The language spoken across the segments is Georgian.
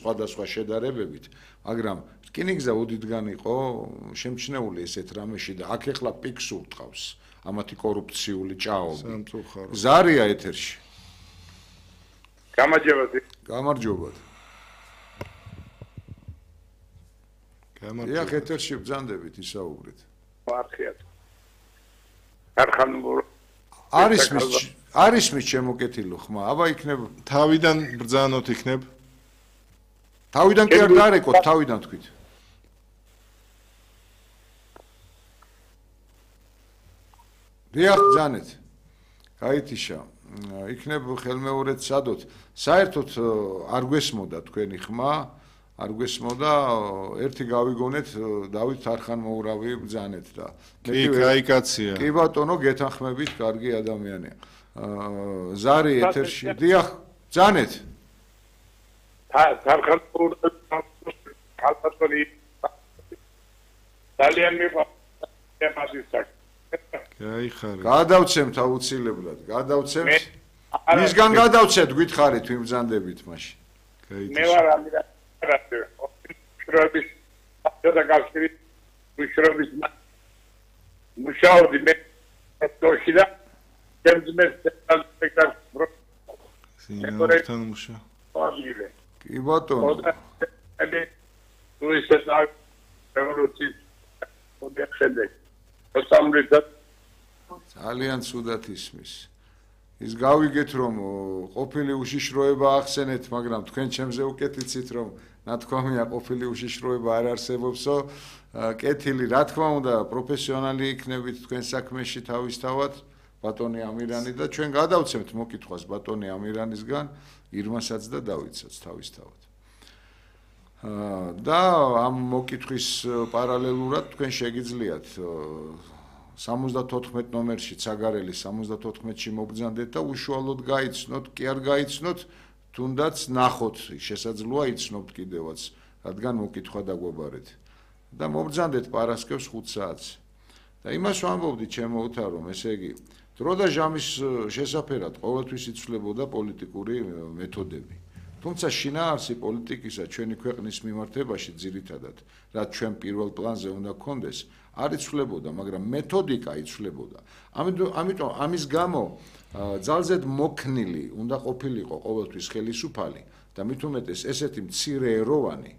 სხვადასხვა შედარებებით, მაგრამ რკინიგზა უდიდგან იყო შემჩნეული ესეთ რამეში და აქ ეხლა პიკს ურტყავს ამათი კორუფციული ჭაობი. ზარია ეთერში. გამარჯობა. დიახ, ეთერში ბრძანდებით ისაუბრეთ. მარხიათ. არის მის შემოკეთილო ხმა, აბა იქნებ თავიდან ბრძანოთ იქნებ. თავიდან კი არ დარეკოთ, თავიდან თქვით. დიახ, ბრძანეთ. გაითიშა. იქნებ ხელმეორედ სადოთ. საერთოდ არ გვესმოდა თქვენი ხმა, არ გვესმოდა, ერთი გავიგონეთ დავით თარხანმოურავი ბრძანეთ და კი, კაიკაცია. კი ბატონო, გეთანხმებით, კარგი ადამიანია. ზარი ეთერში. დიახ, ბრძანეთ. თარხანმოურავი ძალიან მიყვარს. გაიხარე. გადავცემთ აუცილებლად, გადავცემთ. მისგან გადავცეთ, გითხარით, ვინ ბრძანდებით მაშინ. მე ვარ მუშრობის დაგავშირი მუშრობის მუშაობდი მე თოშიდა ჩემძმე სპექტაკლ სინორთან მუშა კი ბატონო აი რუსეთ რევოლუციის მოდი ძალიან ცუდად ისმის. ის გავიგეთ რომ ყოფილი უშიშროება ახსენეთ, მაგრამ თქვენ ჩემზე უკეთიცით რომ ნათქვამია ყოფილი უშიშროება არ არსებობსო. კეთილი, რა თქმა უნდა, პროფესიონალი იქნებით თქვენ საქმეში თავისთავად, ბატონი ამირანი და ჩვენ გადავცემთ მოკითხვას ბატონი ამირანისგან, ირმასაც და დავითსაც თავისთავად. და ამ მოკითხვის პარალელურად თქვენ შეგიძლიათ 74 ნომერში ცაგარელი 74-ში მობრძანდეთ და უშუალოდ გაიცნოთ, კი არ გაიცნოთ, თუნდაც ნახოთ, შესაძლოა იცნობთ კიდევაც, რადგან მოკითხვა დაგვაბარეთ. და მობრძანდეთ პარასკევს 5 საათს. და იმას ვამბობდი ჩემო უთავრომ, ესე იგი, დრო და ჟამის შესაფერად ყოველთვის იცვლებოდა პოლიტიკური მეთოდები. თუმცა შინაარსი პოლიტიკისა ჩვენი ქვეყნის მიმართებაში ძირითადად, რაც ჩვენ პირველ პლანზე უნდა გქონდეს, არ იცვლებოდა, მაგრამ მეთოდიკა იცვლებოდა. ამიტომ ამის გამო ძალზედ მოქნილი უნდა ყოფილიყო ყოველთვის ხელისუფალი და მით უმეტეს ესეთი მცირეეროვანი,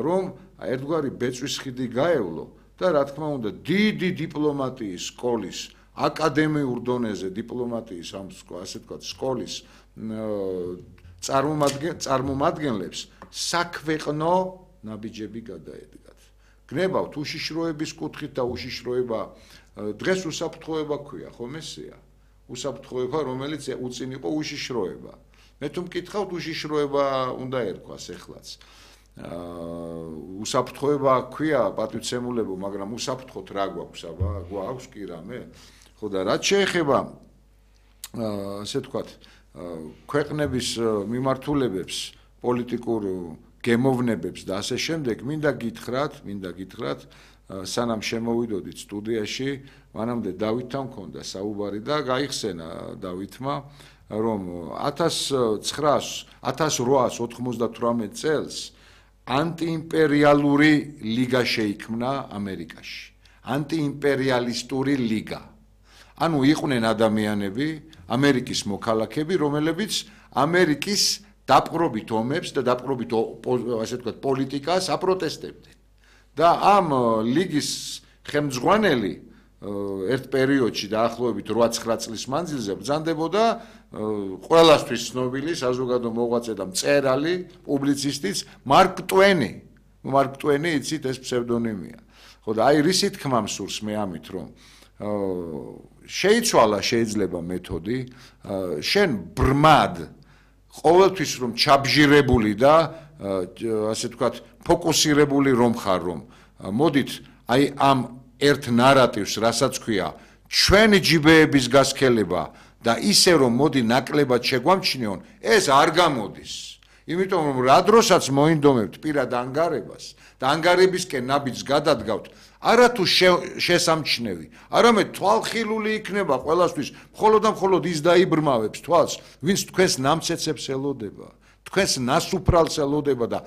რომ ერთგვარი ბეწვის ხიდი გაევლო და რა თქმა უნდა დიდი დიპლომატიის სკოლის, აკადემიურ დონეზე დიპლომატიის ამ ასე ვთქვათ სკოლის წარმომადგენლებს საქვეყნო ნაბიჯები გადაედგათ. გნებავთ უშიშროების კუთხით და უშიშროება დღეს უსაფრთხოება ქვია, ხომ ესეა? უსაფრთხოება, რომელიც უწინ იყო უშიშროება. მე თუ მკითხავთ უშიშროება უნდა ერქვას ეხლაც. უსაფრთხოება ქვია პატივცემულებო, მაგრამ უსაფრთხოთ რა გვაქვს, აბა, გვაქვს კი რამე? ხო და რაც შეეხება ასე ვთქვათ ქვეყნების მიმართულებებს, პოლიტიკურ გემოვნებებს და ასე შემდეგ, მინდა გითხრათ, სანამ შემოვიდოდით სტუდიაში, მანამდე დავითთან მქონდა საუბარი და გაიხსენა დავითმა, რომ 1898 წელს ანტიიმპერიალური ლიგა შეიქმნა ამერიკაში. ანტიიმპერიალისტური ლიგა. ანუ იყვნენ ადამიანები, ამერიკის მოქალაქეები, რომლებიც ამერიკის დაპყრობით ომებს და დაპყრობით ასე ვთქვათ პოლიტიკას აპროტესტებდნენ. და ამ ლიგის ხელმძღვანელი ერთ პერიოდში დაახლოებით 8-9 წლის მანძილზე ბრძანდებოდა ყველასთვის ცნობილი საზოგადო მოღვაწე და მწერალი, პუბლიცისტიც მარკ ტვენი. მარკ ტვენი იცით ეს ფსევდონიმია. ხო და აი რისი თქმა მსურს მე ამით რომ შეიცვალა შეიძლება მეთოდი, შენ ბრმად ყოველთვის რომ ჩაბჟირებული და ასე ვთქვათ ფოკუსირებული რომ ხარ რომ მოდით აი ამ ერთ ნარატივს რასაც ქვია ჩვენი ჯიბეების გასქელება და ისე რომ მოდი ნაკლებად შეგვამჩნიონ ეს არ გამოდის. იმიტომ რომ რა დროსაც მოინდომებთ პირად ანგარებას და ანგარებისკენ ნაბიჯს გადადგავთ არათუ შესამჩნევი, არამედ თვალხილული იქნება ყველასთვის, მხოლოდ და მხოლოდ ის დაიბრმავებს თვალს, ვინც თქვენს ნამცეცებს ელოდება, თქვენს ნასუფრალს ელოდება და